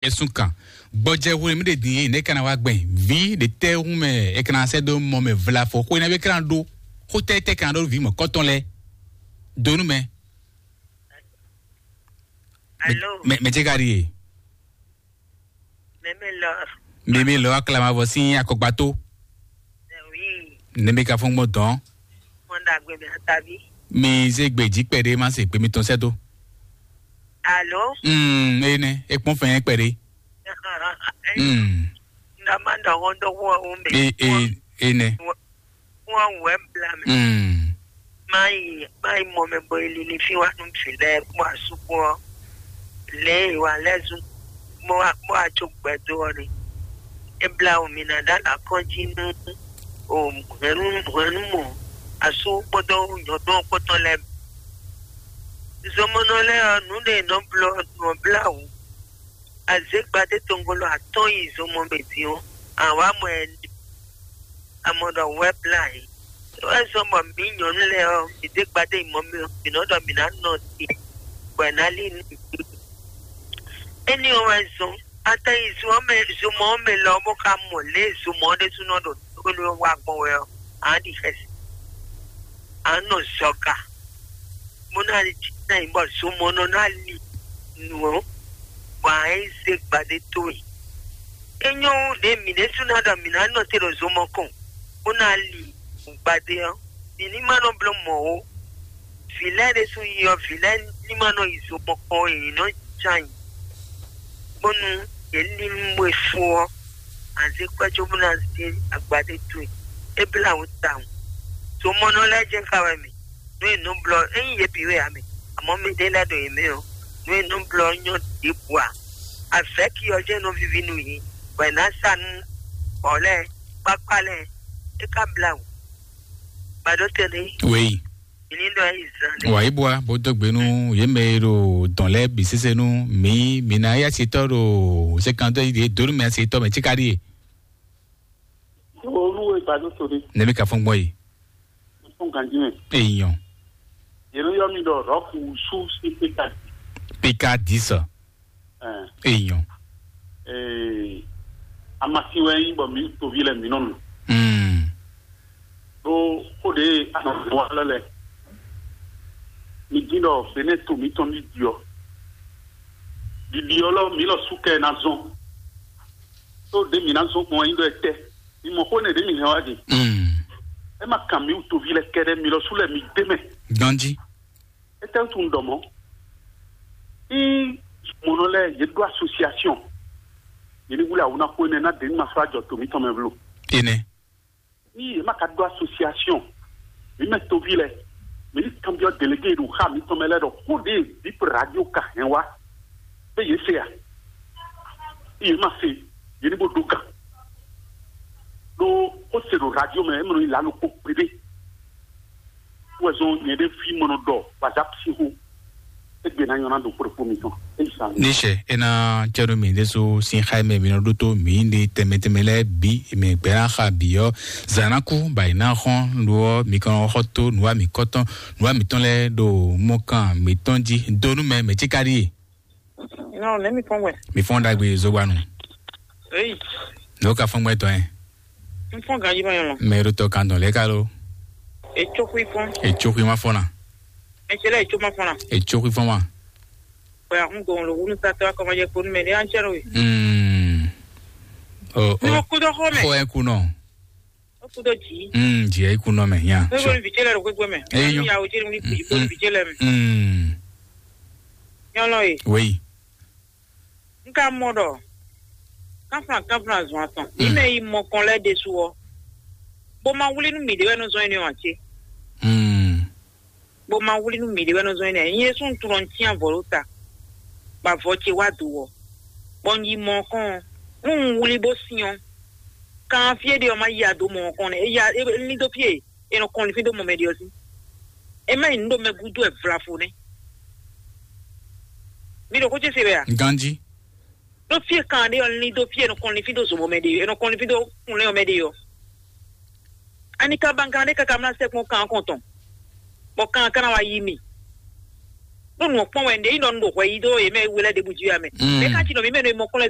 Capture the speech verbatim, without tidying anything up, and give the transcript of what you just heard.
Ɛsùn kan. Gbɔjɛ hwenu mi ɖe din e ne kana wa gbɛn vi ɖe tɛ hu mɛ e kana sɛ do mɔ mɛ vlafɔ xwe na be kana ɖo xotɛ tɛ kana ɖo vi mɔ kɔtɔn lɛ donu mɛ. Alo. Mɛ mɛ jɛ ka ɖi ye. Mɛmɛ lɔ. Mɛmɛ lɔ aklamavɔ si akɔgbato. Wi. Ne mi ka fɔn gbɔ dɔn. Mɔnda gbɛ mi atabi. Mi ze gbe jí kpɛɖe ma se gbe mi tɔn sɛ do. Alo. Hmm, ene e kpɔn fɛn kpɛɖe. Hmm. Ndama ndɔ wɔn dɔ wɔn o mɛ. E e ene. Wɔn wɛ bla mɛ. Hmm. Mayi mayi mɔ mɛ bɔ e lili fi wa nu fi lɛ kpɔ asukpɔ lɛ wa lɛ zu mɔ wa kpɔ atso gbɛdo ɔ ni. E bla o mi na da la kɔn ji nu o hɛnu hɛnu mɔ asu kpɔdɔ nyɔdɔ kpɔtɔ lɛ. Zɔmɔnɔ lɛ ɔ nu ne nɔ blɔ nɔ bla o. Azégbadé tongolo atɔ́ɔ́n yi zomɔ mɛ din ɔ́, a wǎ mɔ ɛ ní. A mɔ ɖɔ wɛ́ blá yě. É wɛ zɔ́n bɔ mǐ nyɔ̌nu lɛ́ɛ ɔ́, mǐ dé gbadé yi mɔ mɛ ɔ́, mǐ nɔ́ ɖɔ mǐ ná nɔ te, bɔ è nǎ lí nú mǐ. Énɛ́ ɔ́ wɛ zɔ́n, a tɛ yi zo ɔ́ mɛ, zomɔ ɔ́ mɛ lɔ ɔ́, bó ka mɔ lě e zomɔ ɔ́ ɖésúnɔ ɖo tónú ɔ́ wá gbɔn wɛ ɔ́, a nǎ ɖi xɛsi, a nǎ nɔ zɔga. Bó ná ná nyí bɔ zomɔnɔ ná li nǔ ɔ́, bɔ a yi zé gbadé towe. É nyɔ́ ɖě mǐ ɖésú ná ɖɔ mǐ ná nɔ te ɖo zomɔ kɔn, bó ná li gbadé ɔ́, mǐ ní ma nɔ bló mɔ̌ ó. Vǐ lɛ́ɛ ɖésú yi ɔ́, vǐ lɛ́ɛ ní ma nɔ yi zomɔ kɔn ó, yě nɔ cán yi, bónú yě ní mɔ e fó ɔ́, a zé kwɛ́ cóbó ná zé agbadé towe. É blá wǔ tawun. Zomɔnɔ lɛ́ɛ jɛ́n ka wɛ mǐ. Nú è nɔ blɔ́ ényí yě bǐ wɛ ǎ mɛ, amɔ̌ mɛɖé lɛ́ɛ ɖo yě mɛ ɔ́, nú è nɔ blɔ́ nyɔ́ ɖěbǔ ǎ. Avɛ̌ki ɔ́ jɛ́n nɔ víví nú yě, bɔ è nǎ sa nú bɔ̌ lɛ́ɛ, kpákpá lɛ́ɛ, é ka blá wǔ. Gbadó tɛnɛ́, wěyi. Mǐ ní ɖɔ yí zan lɛ́ɛ. Wǎ yi bua bó dó gbe nú yě mɛ e ɖo dɔ̌n lɛ́ɛ bǐ sésé nú mǐ. Mǐ ná yá sitɔ́ ɖo sékantɔ́ yi ɖě dó nú mɛ sitɔ́ mɛ cíká ɖíe. Wo nú we gbadó to ɖé. Nɛbí ka fɔ́n gbɔn yi. Fún ganjí mɛ. Èèyàn. Yě nɔ yɔ mì ɖɔ rɔ́fu sú sí pékadì. Pékadì sɔ. Ɛn. Èèyàn. Ee, amasi wɛ nyí bɔ mǐ toví lɛ mǐ nɔ nu. Hmm. Ɖó xó ɖě anɔ wa lɛ lɛ. Mi dín ɖɔ Benɛ́ to mǐtɔn ní ɖiɖi ɔ́. Ɖiɖi ɔ́ lɔ mǐ lɔ sú kɛ ná zɔn. Tó ɖě mǐ ná zɔn gbɔn wɛ nyí ɖɔ etɛ́. Mi mɔ xó nɛ ɖě mi hɛn wá ɖe. Mm. É ma kan mǐ wutoví lɛ kɛɖɛ́, mi lɔ sú lɛ mi dé mɛ. Ganjí. Étɛ́ wútu un ɖɔ mɔ̌? Í mɔnɔ lɛ́ɛ yě ɖó asosiasiɔn. Yě ní wlí awǔ ná xó énɛ́ ná ɖě ní ma sɔ́ ajɔ to mǐtɔn mɛ vlo. Énɛ́. Ní yě má ka ɖó asosiasiɔn, mǐ mɛ toví lɛ, mǐ ní kanbyɔ́ delégé e ɖo xá mǐtɔn mɛ lɛ́ɛ ɖɔ xó ɖě Bip Radio ka hɛn wá, bɛ́ yě se a? Yě ma se, yě ní bó dó gan. Ɖó xó se ɖo radio mɛ, é mɔ nɔ nyi lǎlo kpó gbeɖé. Wɛ zɔn nyɛ ɖé fí mɔ nɔ ɖɔ WhatsApp sín xó. Égbé ná nyɔ́ ná ɖo kpóɖokpó mitɔn. Ní sɛ é ná cɛɖú mi ɖésú sín xá mɛ mi nɔ ɖótó mi ɖe tɛmɛ tɛmɛ lɛ́ɛ bǐ mɛ gbɛ́ ná xa bǐ ɔ́, zǎn ná kú bɔ è ná xɔ́n ɖó ɔ́, mi kɔn xɔ tó nǔwa mǐ kɔ́tɔn nǔwa mǐtɔn lɛ́ɛ ɖo mɔkan mǐtɔn jí dó nú mɛ mɛ cí káɖí e. Non, let me fɔn wɛ. Mi fɔn ɖagbe zogba nu. Eyi. N'o ka fɔn gbɛ tɔn yɛ. N fɔn ganji ma yɔn lɔ. Mɛ ɖo tɔ kan dɔn lɛ ka lo. Etso kui fɔn. Etso kui ma fɔn na. Etsɛlɛ etso ma fɔn na. Etso kui fɔn ma. Bɔn a kun gbɔn lo wunu satɔ akɔmɔjɛ kponu mɛ ne an cɛ no ye. Mm. Oh, oh. N'o kudo xɔ mɛ. Xɔ ɛ kunɔ. O kudo ji. Mm, ji ɛ kunɔ mɛ ya. N'o bɔ vi cɛ lɛ ɖo gbɛgbɛ mɛ. Eyi nyɔ. Ya o cɛ ni bi bɔ vi cɛ lɛ mɛ. Mm. Nyɔnɔ ye. Oui. N ka mɔ ɖɔ kánflan kánflan zɔn atɔn. Mm. Mí mɛ yi mɔ kɔn lɛ́ɛ ɖésú ɔ́, bó ma wlí nú mǐɖé wɛ nɔ zɔn énɛ́ ɔ́ ǎ cé? Mm. Bó ma wlí nú mǐɖé wɛ nɔ zɔn énɛ́ ǎ. Nyɛ ɖésú un tunɔ un cyán avɔ ɖó ta, bɔ avɔ ce wá do wɔ, bɔ un yi mɔ ɔ́ kɔn ɔ́, nú un wlí bó syɔ́n, kan fí e ɖe ɔ́ ma yi ado mɔ ɔ́ kɔn nɛ́. É ya é lín dó fí e è nɔ kɔn linfín dó mɔ mɛ ɖe ɔ́ sí. É má nyí nǔ ɖo mɛ gúdo wɛ vlafo nɛ́. Mi ɖo xó ce se wɛ a? Ganji. Ɖó fí e kan ɖe ɔ́, lín dó fí e è nɔ kɔn linfín dó zomɔ mɛ ɖe, è nɔ kɔn linfín dó kunlɛ́n ɔ́ mɛ ɖe ɔ́. Ani ka ban kan ɖé káká mlá sɛkpɔ́n kan ɔ́ kɔn tɔn, bɔ kan ɔ́ ka ná wá yí mi. Ɖó nǔ ɔ́ kpɔ́n wɛ un ɖe yi nɔ un ɖo hwɛ yi dó yě mɛ we lɛ́ɛ ɖěbǔ jí wɛ mɛ. Mɛ ka cí nɔ mǐ mɛ nɔ e mɔ kplɔ́n lɛ́ɛ